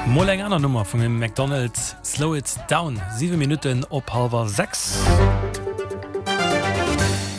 Mol eng aner Nummer vum Amy Macdonald, Slow It Down, 7 Minutten op hallwer 6.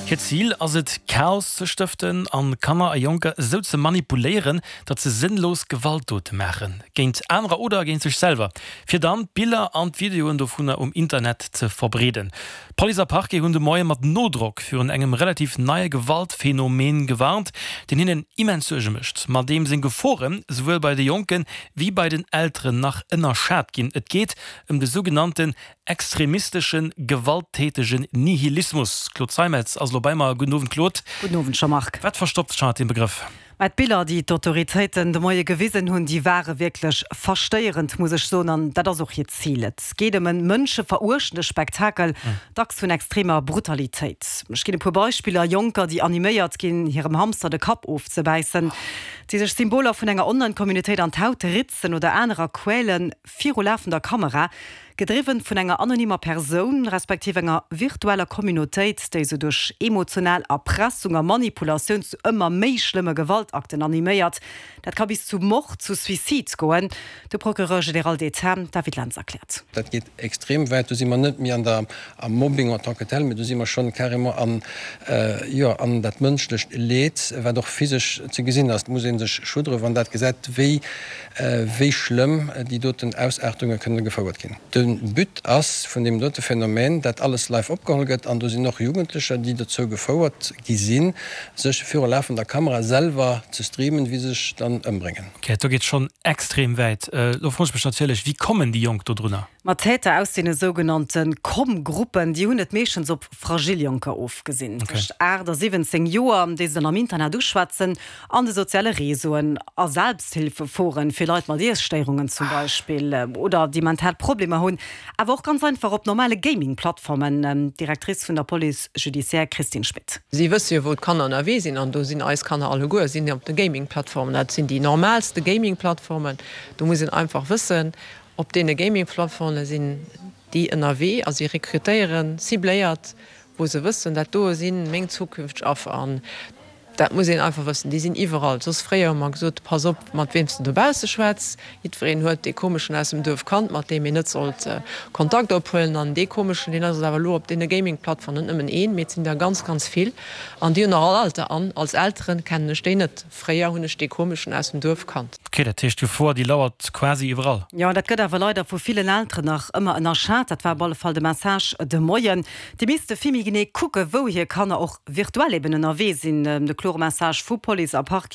Hiert Zil ass et, Chaos ze stëften an Kanner a Jonker esou ze manipuléieren, datt se sënnlos Gewaltdote maachen, géint anerer oder géint sech selwer, fir dann d'Biller an d'Videoen dovunner um Internet ze verbreeden. Police a Parquet hunn de Moie mat Nodrock virun engem relativ neie Gewaltphenomen gewarnt, deen hinnen immens Suerge mécht, ma deem seng Geforen souwuel bei de Jonke wéi bei den Elteren nach ënnerschat ginn. Et geet ëm de sougenannten extremistesche gewalttätegen Nihilismus. D'Claude Zeimetz ass elo bei mer. Gudden Owend, Claude. Gudden Owend, Jean-Marc. Wat verstoppt sech hannert deem Begrëff? Mä d'Biller, déi d'Autoritéiten de Moie gewisen hunn, déi ware wierklech verstéierend, muss ech soen. An dat ass och hiert Zil. Et geet ëm e mënscheveruechtende Spektakel, dacks vun extremer Brutalitéit. Ech ginn e puer Beispiller, Jonker, déi animéiert ginn, hirem Hamster de Kapp ofzebäissen, déi sech Symboler vun enger Online-Communautéit an d'Haut ritzen oder anerer quälen, viru lafender Kamera. Gedriwwen vun enger anonymer Persoun, respektiv enger virtueller Communautéit, déi se duerch emotional Erpressung a Manipulatioun zu ëmmer méi schlëmme Gewaltakten animéiert. Dat ka bis zu Mord, zu Suicide goen. De Procureur général d'État David Lentz erkläert. Dat geet extrem wäit. Do si mer net méi an der, am Mobbing en tant que tel, mee do si mer schonn carrément an, jo, an dat mënschlecht Leed, wat och physesch ze gesinn ass. Et muss ee sech schuddere wann dat gesäit, wéi wéi schlëmm déi doten Ausaartunge kënne gefouert ginn. De But ass vun deem dote Phänomen, dat alles live opgeholl gëtt, an do sinn och Jugendlecher, déi dozou gefouert gi sinn, sech viru lafender Kamera selwer ze streamen, wéi se sech dann ëmbréngen. Ok, do geet schonn extrem wäit. Elo froen ech mech natierlech, wéi kommen déi Jonk do drunner? Ma d'Täter aus deene sougenannte Komm-Gruppen, déi hunn et meeschtens op fragil Jonker ofgesinn, tëscht 8 a 17 Joer, déi se dann am Internet uschwätzen, an de soziale Réseauen, a Selbsthilfeforen fir Leit mat Iesstéierungen zum Beispill oder déi mental Problemer hunn, awer och ganz einfach op normale Gaming-Plattformen. D'Directrice vun der Police judiciaire Christine Schmit. Si wësse jo wou d'Kanner ënnerwee sinn an do sinn eis Kanner alleguer sinn op de Gaming-Plattformen. Dat sinn déi normalste Gaming-Plattformen. Do muss een einfach wëssen, Op deene Gaming-Plattforme sinn déi ënnerwee a si rekrutéieren cibléiert, wou se wëssen, dat doe si meng zukünfteg Affer. An dat muss een einfach wëssen, déi sinn iwwerall. Soss fréier hu mer gesot, pass op, mat weem s de dobausse schwätz. Jiddwereen huet dee Komeschen aus dem Duerf kannt, mat deem een net sollt Kontakt ophuelen. An dee Komeschen, deen ass awer elo op deene Gaming-Plattformen, net nëmmen een, mee et sinn der ganz, ganz vill. An déi hunn och all Alter. An als Eltere kennen ech déi net. Fréier hunn ech dee Komeschen aus dem Duerf kannt. Ok, dat heescht d'Gefor déi lauert quasi iwwerall. Jo, dat gëtt awer leider vu villen Elteren nach ëmmer ënnerschat. Dat war op alle Fall de Message de Moien. Déi misste vill méi genee kucken, wou hir Kanner och virtuell eben ënnerwee sinn. De klore Message vu Police a Parquet.